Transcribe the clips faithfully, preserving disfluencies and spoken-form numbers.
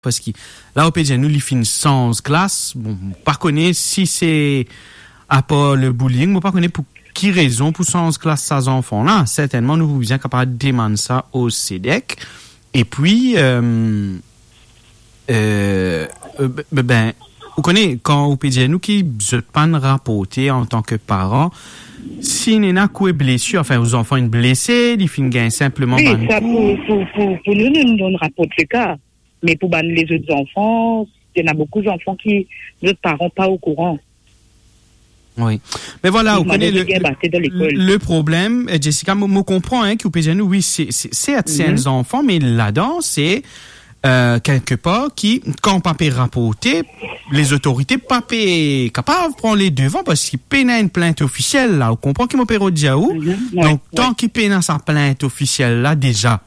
Parski la, ou pe dir nou, li finn sanz klas. Bon, mo pa kone si se apar le bullying, mo pa kone pou ki rezon pou sanz klas sa zanfan la. Sertennman, nou pou bizin kapav demann sa o SEDEC. Epi, euh, euh, euh, be-, be-, ben, ou kone, kan ou pe dir nou ki zot pa'nn raporte antan ki paran, si ena kwe blesir, anfin, ou zanfan inn blese, li finn gagn sinpleman Wi, bann sa kou. Pou, pou, pou, pou nou, nou, nou raport le ka. Me pou bann lezot zanfan, ena boukou zanfan ki, zot paran pa okouran. Wi. Me vwala, ou kone le, le problem, eh, Jessica, mo, mo konpran, hein, ki ou pe dir nou, wi, se, se, se, se enn zanfan, me ladan, se, euh, kelkepar ki, kan pa pe raporte, lezotorite pa pe kapav pran le devan, parski pena enn plint ofisiel la. Ou konpran ki mo pe rod dir ou? Donk, tan ki pena sa plint ofisiel la deza,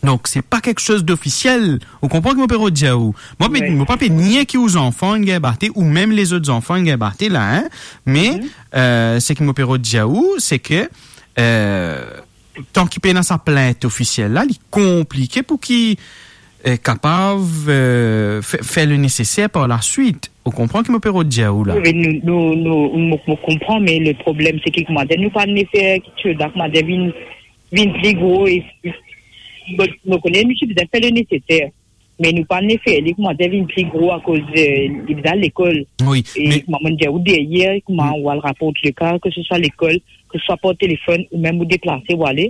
donk, se pa kiksoz dofisiel. Ou konpran ki mo pe rod dir ou? Mo pe, mo pa pe nie ki ou zanfan inn gagn bate, ou mem lezot zanfan inn gagn bate la, hein. Me, euh, seki mo pe rod dir ou, se ke, euh, tan ki pena sa plint ofisiel la, li konplike pou ki, euh, kapav, euh, fe-, fer le neseser par laswit. Ou konpran ki mo pe rod dir ou la? Wi, nou, nou, nou, mo, mo konpran, me le problem, se ki, koumadir, nou pa nefer ki ti la, koumadir, vinn vinn pli gro e, bon, nou kone nou ti bizin fer le neseser, me nou pa nefer li, koumadir, vinn pli gro akoz, eh, li bizin al lekol. Wi, e me kouma mo dir ou deryer, kouma ou al raport le ka, ke se swa lekol, ke se swa par telefon, ou mem ou deplase, ou ale,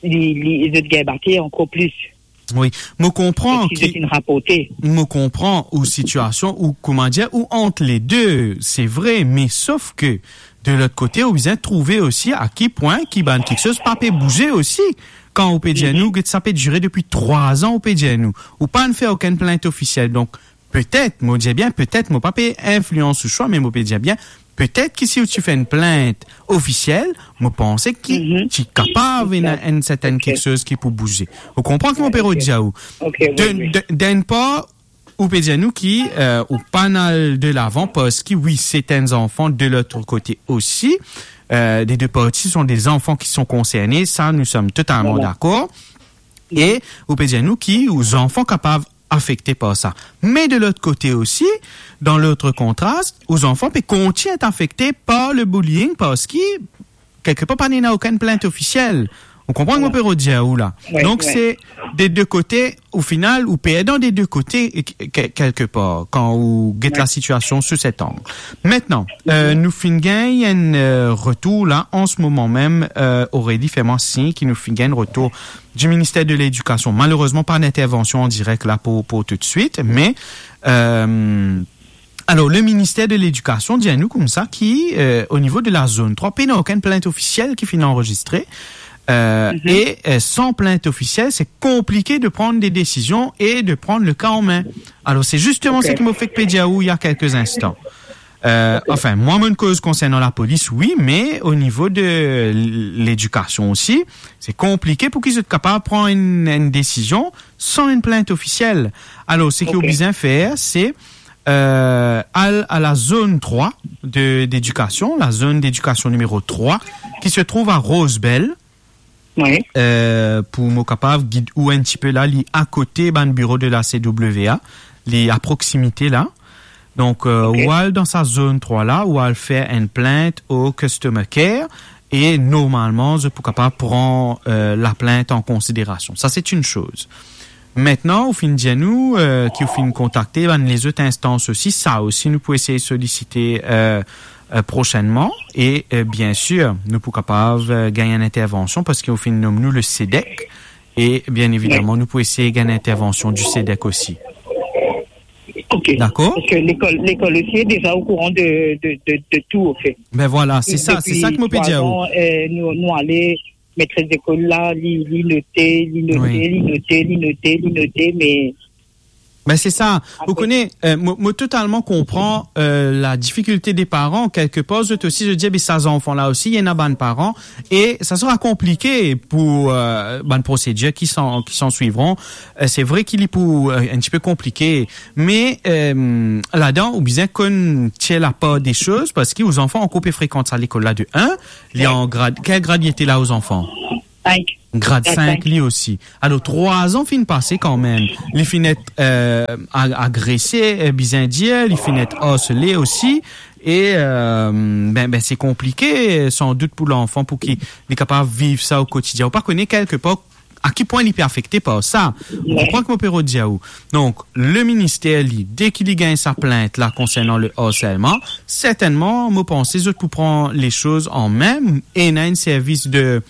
li, li, zot gagn bate ankor plis. Wi, mo konpran ki, zot inn raporte. Mo konpran ou sitiasion, ou, koumadir, ou ant le de, se vre, me sof ke de lot kote, ou bizin trouve osi a ki pwin ki bann kiksoz pa pe bouze osi. Kan ou pe dir nou, get sa pe dire depi trwa an, ou pe dir nou, ou pa'nn fer okenn plint ofisiel. Donk, petet, mo dir bien, petet, mo pa pe inflians ou swa, me mo pe dir bien, petet ki si ou ti fer enn plint ofisiel, mo panse ki ti kapav ena enn sertin kiksoz ki pou bouze. Ou konpran ki mo pe rod dir ou? Ok, wi, wi. De, de, d'enn par, ou pe dir nou ki, euh, ou pa'nn al delavan, parski wi, se enn zanfan de lot kote osi. Euh, les deux parties sont des enfants qui sont concernés, ça, nous sommes totalement d'accord. E ou pe dir nou ki ou zanfan kapav afekte par sa. Me de lot kote osi, dan lot kontrast, ou zanfan pe kontign et afekte par le bullying, parski kelkepar pa ena okenn plint ofisiel. Ou konpran ki mo pe rod dir ou la? Wi, wi. Donk, se de de kote, o final, ou perdan de de kote, e, ke-, ke-, kelkepar, kan ou get lasitiasion sou set ang. Mintnan, euh, nou finn gagn enn, euh, retour la, an se moman mem, euh, Aurélie fer mwa sign ki nou finn gagn enn retour du ministère de l'Éducation. Malerezman, pa enn intervansion an direk la pou, pou toutswit, me, euh, Alor, le ministère de l'Éducation dir nou koumsa ki, euh, o nivo de la zone trwa, pena okenn plint ofisiel ki finn anrezistre, euh, e, euh, san plint ofisiel, se konplike de pran de desizion e de pran le ka an min. Alor, se zisteman seki mo fek pe dir ou il y a quelques instants. Euh, anfin, mwa, mo'nn koz konsernan lapolis, wi, me o nivo de l-, ledikasion osi, se konplike pou ki zot kapav pran enn, enn desizion san enn plint ofisiel. Alor, seki ou bizin fer, se euh, al a la zone trwa de, d'éducation, la zone d'éducation numéro trois, qui se trouve à Rosebel. Wi. Euh, pou mo kapav gid ou enn tipe la, li akote bann biro de la C W A, li a proksimite la. Donk, euh, ou al dan sa zone trwa la, ou al fer enn plint o customer care, e normalman, zot pou kapav pran, euh, laplint an konsiderasion. Sa, se enn soz. Mintnan, ou finn dir nou, euh, ki ou finn kontakte bann lezot instans osi, sa osi nou pou esey solisite, euh, euh, prosennman. E, euh, biensir, nou pou kapav, euh, gagn enn intervansion, parski ou finn nom nou le SEDEC. E, bien évidemment, nou pou esey gagn enn intervansion du SEDEC osi. Ok. Dakor? Parski lekol, lekol osi deza o kouran de, de, de, de tou, anfet. Ben vwala, se sa, se sa ki mo pe dir ou. Depi trwa an, euh, nou, nou ale, metres lekol la, li, li note, li note, li note, li note, li note, me... Ben, se sa. Ou kone, euh, mo, mo totalman konpran, euh, la difikilte de paran. Kelkepar, zot osi, zot dir, be sa zanfan la osi, ena bann paran. E sa sera konplike pou, euh, bann prosedir ki san, ki sanswivron. Euh, se vre ki li pou, euh, enn tipe konplike. Me, euh, ladan, ou bizin konn tir lapar de soz, parski ou zanfan ankor pe frekant sa lekol la de enn. Li an grad, kel grad li ete la ou zanfan? Sink. Grad sink li osi. Alor, trwa an finn pase kanmem. Li finn et, eh, a-, agrese, eh, bizin dir, li finn et arsele osi. E, eh, ben, ben, se konplike, sandout pou lanfan, pou ki li kapav viv sa o kotidien. Ou pa kone kelkepar a ki pwin li pe afekte par sa. Ou konpran ki mo pe rod dir ou? Donk, le minister, li, deki li gagn sa plint la konsernan le harselman, sertennman, mo panse zot pou pran le soz an men, e ena enn servis de,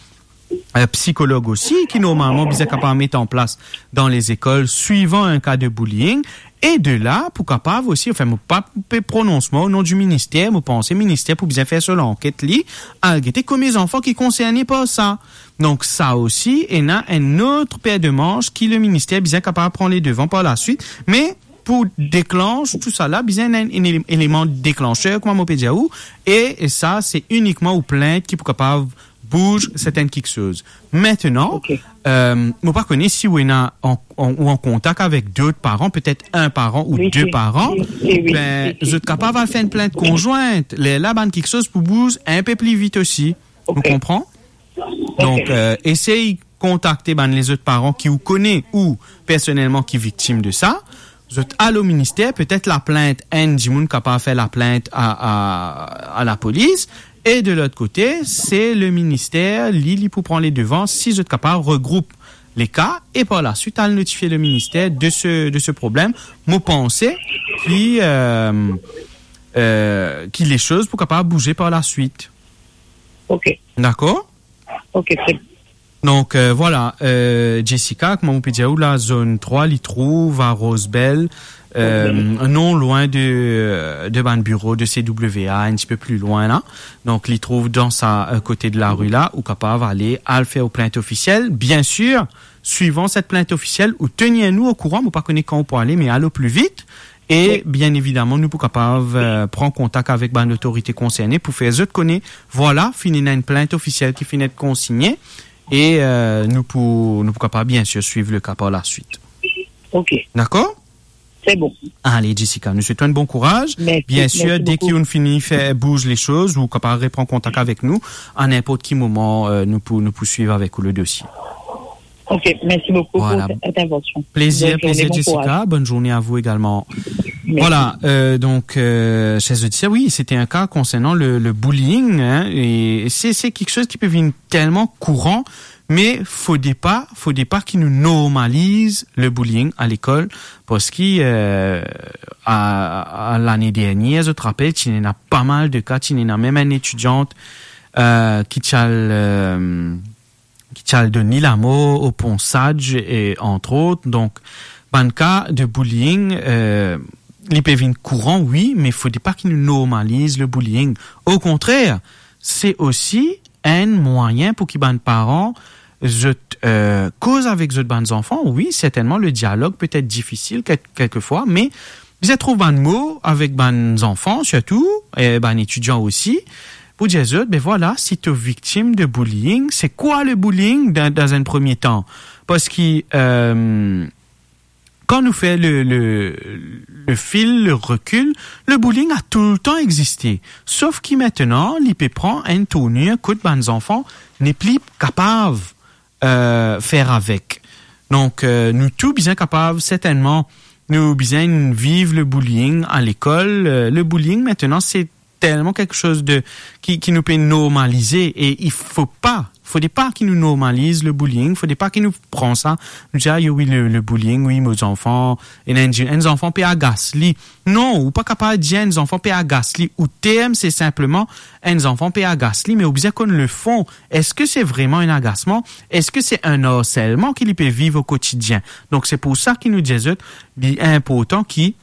eh, psikolog osi, ki normalman bizin kapav met an plas dan lezekol, swivan enn ka de bullying, e de la, pou kapav osi, anfin, mo pa pe pronons mwa o non di minister, mo panse minister pou bizin fer so lanket li, al gete komie zanfan ki konserne par sa. Donk, sa osi, ena enn lot per de manz ki le minister bizin kapav pran ledevan par laswit, me pou deklans tou sa la, bizin ena enn, enn ele-, eleman deklanser, kouma mo pe dir ou, e, e sa, se inikman ou plint ki pou kapav bouz sertenn kiksoz. Aster, eh, mo pa kone si ou ena an, an, ou an kontak avek dot paran, petet enn paran ou de paran, ben, zot kapav al fer enn plint konzwint. Lerla, bann kiksoz pou bouz enn pe pli vit osi. Ou konpran? Donk, eh, esey kontakte bann lezot paran ki ou kone ou personelman ki viktim de sa. Zot al o minister, petet laplint, enn dimoun kapav fer laplint a, a, a lapolis. E de lot kote, se le minister, li, li pou pran ledevan si zot kapav regroup le ka e par laswit al notifie le minister de se, de se problem. Mo panse ki, eh, eh, ki le soz pou kapav bouze par laswit. Ok. Dakor? Ok, tre bien. Donk, eh, vwala, eh, Jessica, kouma mo pe dir ou la, zone trwa, li trouv a Rosebel, eh, non lwin de, de bann biro de C W A, enn tipe pli lwin la. Donk, li trouv dan sa, eh, kote de lari la, ou kapav ale, al fer ou plint ofisiel. Biensir, swivan set plint ofisiel, ou tenir nou okouran, mo pa kone kan ou pou ale, me al o pli vit. E, bien evidaman, nou pou kapav, eh, pran kontak avek bann lotorite konserne pou fer zot kone, vwala, finn ena enn plint ofisiel ki finn et konsigne, e, eh, nou pou, nou pou kapav, biensir, swiv le ka par laswit. Ok. Dakor? Se bon. Ale, Jessica, nou swet ou enn bon kouraz. Mersi, mersi bokou. Biensir, deki ou fini fer bouz le soz, ou kapav repran kontak avek nou a ninport ki moman, eh, nou pou, nou pou swiv avek ou le dosie. Ok, mersi bokou pou set intervansion. Vwala. Plezir, plezir, Jessica. Bonn zourne, bon kouraz. Bonn zourne a vou egalman. Mersi. Vwala, eh, donk, eh, ser zodiser, wi, sete enn ka konsernan le, le bullying, hein, e se, se kiksoz ki pe vinn telman kouran, me fode pa, fode pa ki nou normaliz le bullying a lekol, parski, eh, a, a lane dernier, zot rapel, ti ena pa mal de ka, ti ena mem enn etidiant, eh, ki ti al, eh, ki ti al donn li lamor o Pont Sadje, e, antrot. Donk, bann ka de bullying, eh, li pe vinn kouran, wi, me fode pa ki nou normaliz le bullying. Okontrer, se osi enn mwayin pou ki bann paran, zot, eh, koz avek zot bann zanfan. Wi, sertennman, le dialog pe et difisil kek-, kelkefwa, me bizin trouv bann mo avek bann zanfan, sirtou, e bann etidian osi, pou dir zot, be vwala, si to viktim de bullying, se kwa le bullying dan, dan enn premie tan? Parski, eh, kan nou fer le, le, le fil, le rekil, le bullying a toultan existe. Sof ki aster, li pe pran enn tournir kot bann zanfan nepli kapav, eh, fer avek. Donk, eh, nou tou bizin kapav, sertennman, nou bizin viv le bullying a lekol. Eh, le bullying, aster, se telman kiksoz de, ki, ki nou pe normalize, e i fo pa, fode pa ki nou normaliz le bullying, fode pa ki nou pran sa, nou dir, "Ah, yo, wi, le, le bullying, wi, mo zanfan, ena enn, enn zanfan pe agas li." Non, ou pa kapav dir enn zanfan pe agas li. Ou term, se sinpleman enn zanfan pe agas li, me ou bizin konn le fon. Eski se vreman enn agasman? Eski se enn harselman ki li pe viv o kotidien? Donk, se pou sa ki nou dir zot, li inportan ki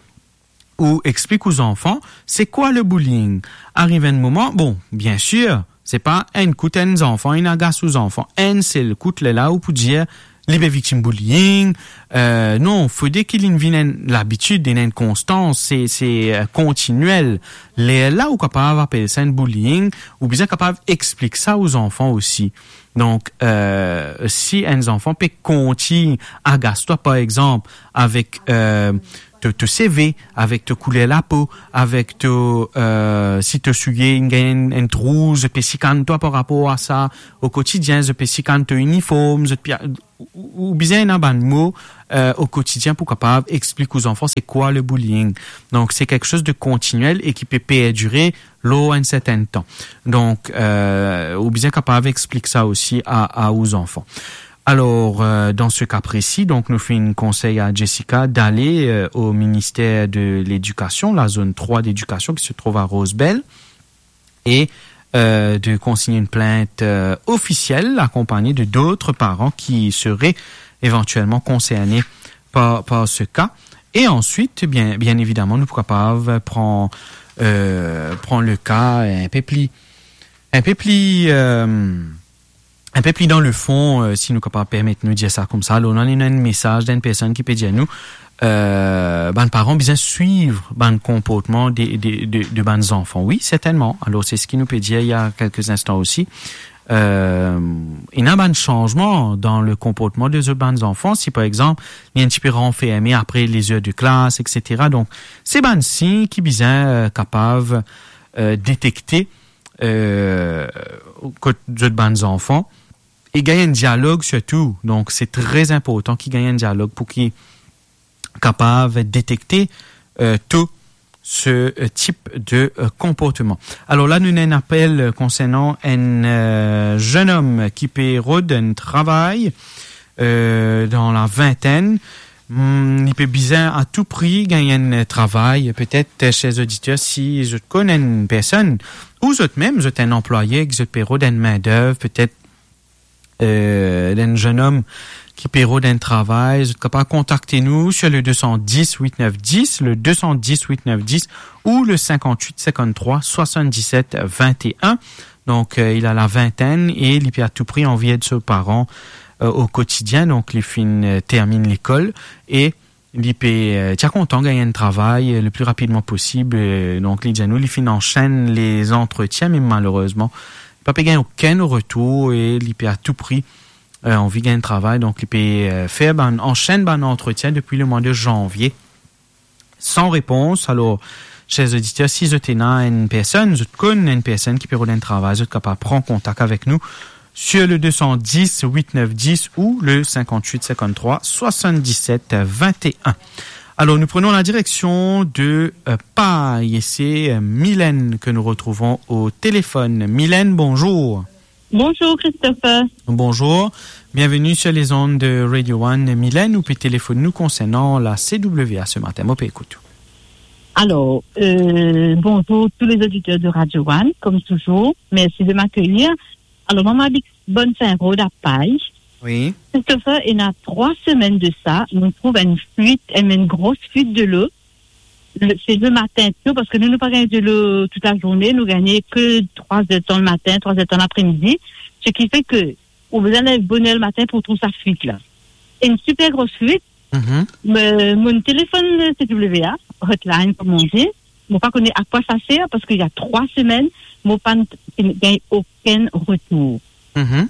ou explik ou zanfan, se kwa le bullying? Ariv enn moman, bon, biensir, se pa enn kout enn zanfan inn agas ou zanfan, enn sel kout, lerla ou pou dir, li pe viktim bullying. Eh, non, fode ki li vinn enn labitid, enn, enn konstans, se, se, eh, kontiniel. Lerla ou kapav apel sa enn bullying, ou bizin kapav explik sa ou zanfan osi. Donk, eh, si enn zanfan pe kontign agas twa, par exanp, avek, eh, to, to seve, avek to kouler lapo, avek to, eh, si to soulie inn gagn enn, enn trou, zot pe sikann twa par rapor a sa o kotidien, zot pe sikann to iniform, zot pe, ou, ou bizin ena bann mo, eh, o kotidien pou kapav explik ou zanfan se kwa le bullying. Donk, se kiksoz de kontiniel e ki pe perdire lor enn sertenn tan. Donk, eh, ou bizin kapav explik sa osi a, a ou zanfan. Alors, euh, dans ce cas précis, donc, nou finn konsey a Jessica d'aller, euh, au ministère de l'Éducation, la zone trois d'éducation qui se trouve à Rosebel, et, euh, de consigner une plainte, euh, officielle accompagnée de d'autres parents qui seraient éventuellement concernés par, par ce cas. Et ensuite, bien, bien évidemment, nou pou kapav pran, euh, pran le cas un peu plus, un peu plus, euh, un peu plus dans le fond, euh, si nou kapav permet nou dir sa koumsa. Alor, nou ena enn mesaz d'enn personn ki pe dir nou, euh, bann paran bizin swiv bann konportman de, de, de, de bann zanfan. Wi, sertennman. Alor, se seki nou pe dir il y a quelques instants aussi. Euh, ena bann sanzman dan le konportman de zot bann zanfan. Si, par exanp, li enn tipe ranferme apre les heures de classe, et cetera. Donk, se bann sign ki bizin, euh, kapav, euh, detekte, euh, kot zot bann zanfan, e gagn enn dialog sirtou. Donk, se tre inportan ki gagn enn dialog pou ki kapav detekte, euh, to se, euh, tip de, euh, konportman. Alor la, nou ena enn apel, euh, konsernan enn, euh, zenn om ki pe rod enn travay, euh, dan la vintenn. Hmm, li pe bizin a tou pri gagn enn travay. Petet, euh, ser oditer, si zot konn enn personn, ou zot mem, zot enn anplwaye, ki zot pe rod enn mindev, petet, euh, enn zenn om ki pe rod enn travay, zot kapav kontakte nou sur le deux cent dix huit neuf dix, le deux cent dix huit neuf dix ou le cinquante-huit cinquante-trois soixante-dix-sept vingt et un. Donk, euh, il a la vingtaine e li pe a tou pri anvi ed so paran, euh, o kotidien. Donk, li finn, euh, terminn lekol e li pe, euh, ti a kontan gagn enn travay, euh, le plus rapidement possible. Euh, donk, li dir nou, li finn ansenn les entretiens, me malerezman, li pa pe gagn okenn retour e li pe a tou pri, euh, anvi gagn travay. Donk, li pe, euh, fer bann, ansenn bann antretien depi le mwa de zanvie, san repons. Alor, ser oditer, si zot ena enn personn, zot konn enn personn ki pe rod enn travay, zot kapav pran kontak avek nou sur le deux cent dix huit neuf dix ou le cinquante-huit cinquante-trois soixante-dix-sept vingt et un. Alors, nous prenons la direction de, euh, Pailh, et c'est, euh, Mylène que nous retrouvons au téléphone. Mylène, bonjour. Bonjour, Christopher. Bonjour. Bienvenue sur les ondes de Radio One. Mylène, ou pe telefone nou konsernan la C W A ce matin. Mo pe ekout ou. Alors, euh, bonjour tous les auditeurs de Radio One, comme toujours. Merci de m'accueillir. Alors, mwa, mo abit Bonne Fin Rod, à Pailh. Oui. Christopher, ena trwa semenn de sa, nou trouv enn fuit, enn, enn gro fuit delo. Le, se le matin to, parski nou, nou pa gagn delo tout la zourne, nou gagne ke trwa er tan le matin, trwa er tan lapremidi. Seki fer ke ou bizin lev boner le matin pou trouv sa fuit la. Enn siper gro fuit, Mhm. Me, mo telefone C W A, hotline, comme on dit. Mo pa kone a kwa sa ser, parski ena trwa semenn, mo pa gagn okenn retour. Mhm.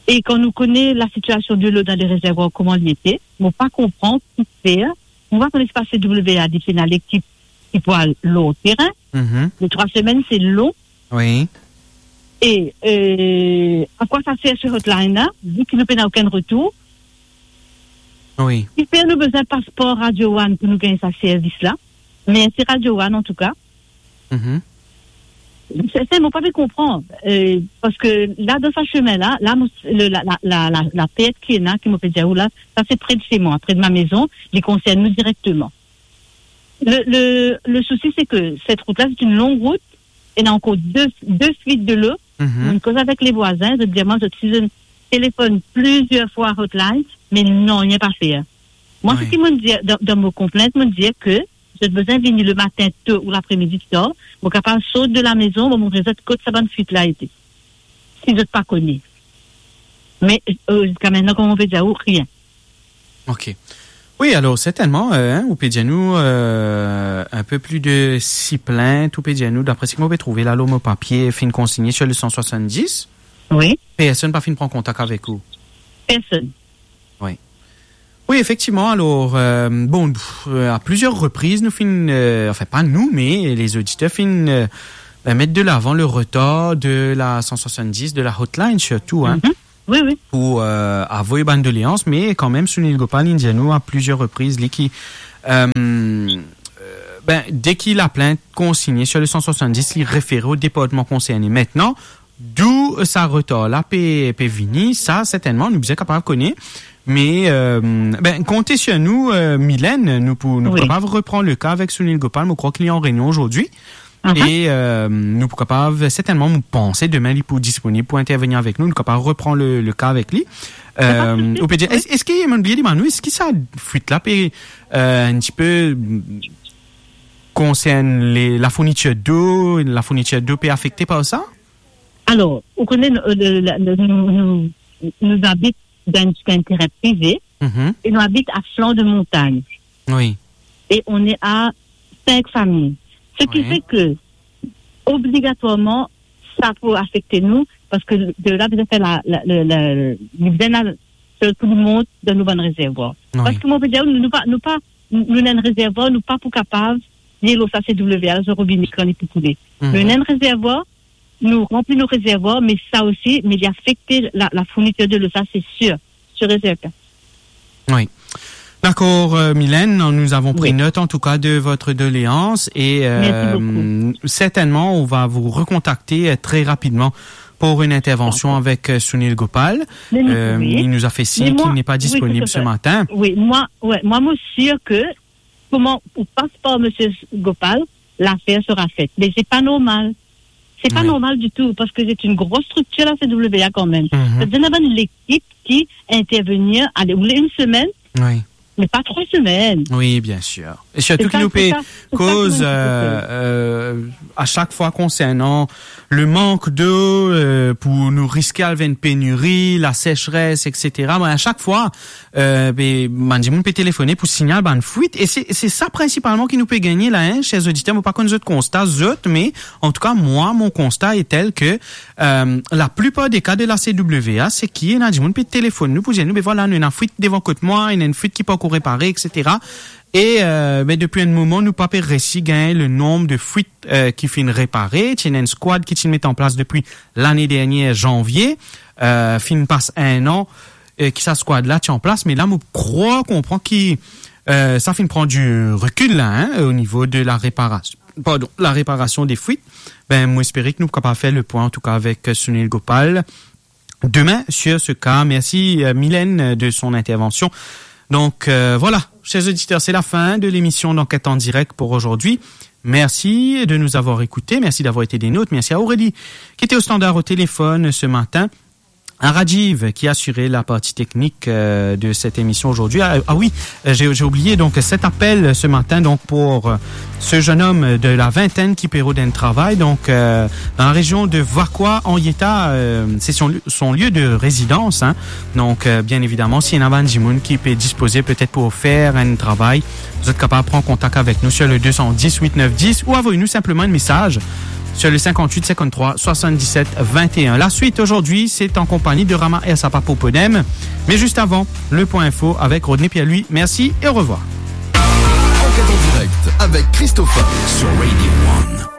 E kan nou kone la sitiasion delo dan le rezervwar, kouma li ete, mo pa konpran ki fer. Mo pa kone si pa C W A, li ena lekip ki pou al lor terin. Mhm. Le trwa semenn, se lon. Oui. E, euh, a kwa sa ser se hotline la, vi ki nou pena okenn retour? Oui. Ki fer nou bizin pas par Radio One pou nou gagn sa servis la? Mersi Radio One, antouka. Mhm. Se, se, mo pa pe konpran, euh, parski la, dan sa semenn la, la, mo, le, la, la, la, la, la pert ki ena, ki mo pe dir ou la, sa se pre de chez moi, pre de ma maison, li konsern nou direkteman. Le, le, le sousi, se ke set rout la, se enn long rout, ena ankor de, de fuit delo. Mhm. Mo koz avek le vwazin, zot dir mwa, zot, si zot telefone plizier fwa hotline, me non, nanye pa fer. Mwa, Oui. Seki mo dir, dan, dan mo konplint, mo dir ke zot bizin vini le matin to ou lapremidi tar, mo kapav sort de la maison, mo montre zot kot sa bann fuit la ete. Si zot pa kone. Me, euh, ziska mintenan, kouma mo pe dir ou, rien. Ok. Wi, alor, sertennman, euh, hein, ou pe dir nou, euh, enn pe plis de sis plint, ou pe dir nou, dapre seki mo pe trouve la lor mo papie, finn konsigne sir le san swasann-dis. Wi. Personn pa finn pran kontak avek ou? Personn. Wi. Wi, efektivman. Alor, euh, bon, pff, euh, a plizier repriz, nou finn, euh, anfin, pa nou, me lezoditer finn, euh, ben, met de lavan le retar de la san swasann-dis, de la hotline sirtou, hein, Mhm. Wi, wi. pou, euh, avoy bann doleans, me kanmem, Sunil Gopal inn dir nou a plizier repriz, li ki, euh, euh, ben, deki laplint konsigne sir le san swasann-dis, li refere o departman konserne. Aster, dou sa retar la pe, pe vini, sa sertennman nou bizin kapav kone. Me, euh, ben, konte sir nou, euh, Mylène, nou pou, nou pou Wi. kapav repran le ka avek Sunil Gopal, mo krwar ki li an reynion azordi. Mhm. E, euh, nou pou kapav, sertennman, mo panse demin li pou disponib pou intervenir avek nou, nou kapav repran le, le ka avek li. Pa de sousi. Euh, ou pe dir, Wi. es-, eski, mo bliye demann ou, eski sa fwit la pe, euh, enn tipe, mm, konsern le, lafournitir dlo, lafournitir dlo pe afekte par sa? Alor, ou kone, nou, euh, le, la, le, nou, nou, nou abit dan enn, dan enn terin prive Mhm. e nou abit a flan de montagn. Wi. E on est à cinq familles. Ce qui Wi. fait que, obligatwarman, sa pou afekte nou, parski de la, bizin fer la, la, le, le, le, bizin al, pou nou mont dan nou bann rezervwar. Wi. Parski mo pe dir, nou, nou pa, nou pa, nou ena enn rezervwar, nou pa pou kapav, li lor sa C W A, so robine kan li pou koule. Mhm. Nou ena enn rezervwar, nou ranpli nou rezervwar, me sa osi, me li afekte la, lafournitir dlo, sa, se sir, sir e serten. Oui. D'accord, euh, Mylène, nous avons pris Oui. note en tout cas de votre doléance et, Merci euh, beaucoup. certainement on va vous recontacter, euh, très rapidement pour une intervention D'accord. avec, euh, Sunil Gopal. Mais, mais, Euh, oui. il nous a fait signe Mais moi, qu'il n'est pas oui, disponible tout à ce fait. matin. Oui, moi, ouais, moi, moi, sûr que, kouma ou pas par Monsieur Gopal, l'affaire sera faite. Mais c'est pas normal. C'est pas Oui. normal du tout, parce que c'est une grosse structure, la C W A, quand même. Mhm. Sa dir ena bann lekip ki intervenir, ale, ou le une semaine, Oui. mais pas trois semaines. Oui, bien sûr. Et surtout C'est ki ça, nou pe c'est ça, c'est ça koz, ki nou pe koz. euh, euh, a chak fwa konsernan le mank dlo, euh, pou nou riske al vinn peniri, la sécheresse, et cetera. Bon, a chak fwa, euh, be, bann dimoun pe telefone pou signal bann fwit. E se, se sa prinsipalman ki nou pe gagne la, hein, chers auditeurs. Mo pa konn zot konsta, zot, mais en tout cas, moi, mon constat est tel que, euh, la plupart des cas de la C W A, se ki ena dimoun pe telefone nou pou dir nou, be vwala, nou ena fwit devan kot mwa, ena enn fwit ki pankor repare, et cetera. E, euh, be, depi enn moman, nou pa pe resi gagn le nonb de fwit, euh, ki finn repare. Ti ena enn skwad ki ti met an plas depi lane dernie, zanvie, euh, finn pas enn an, euh, ki sa skwad la ti an plas, me la, mo krwar konpran ki, euh, sa finn pran du recul la, hein, au niveau de la réparation, pardon, la réparation des fuites. Be, mo espere ki nou kapav fer le pwin, en tout cas, avec, euh, Sunil Gopal demain sur ce cas. Merci, euh, Mylène, de son intervention. Donc, euh, voilà, chers auditeurs, c'est la fin de l'émission d'Enquête en direct pour aujourd'hui. Merci de nous avoir écoutés, merci d'avoir été des nôtres, merci à Aurélie qui était au standard au téléphone ce matin, à Rajiv qui a assuré la partie technique, euh, de cette émission aujourd'hui. Ah, ah oui, euh, j'ai, j'ai oublié donc cet appel ce matin donc pour, euh, ce jeune homme de la vingtaine ki pe rod enn travay, donc, euh, dans la région de Vacoas, en Yeta, euh, c'est son, son lieu de résidence, hein. Donc, euh, bien évidemment, si ena bann dimoun ki pe dispoze peut-être pou fer enn travay, zot kapav pran kontak avek nou sur le deux cent dix huit neuf dix ou avoy nou simplement un message sur le cinquante-huit cinquante-trois soixante-dix-sept vingt et un. La suite aujourd'hui, c'est en compagnie de Rama Ersapa pour Podem. Mais juste avant, le point info avec Rodney Pierre-Louis. Merci et au revoir. Enquête en direct avec Christopher sur Radio One.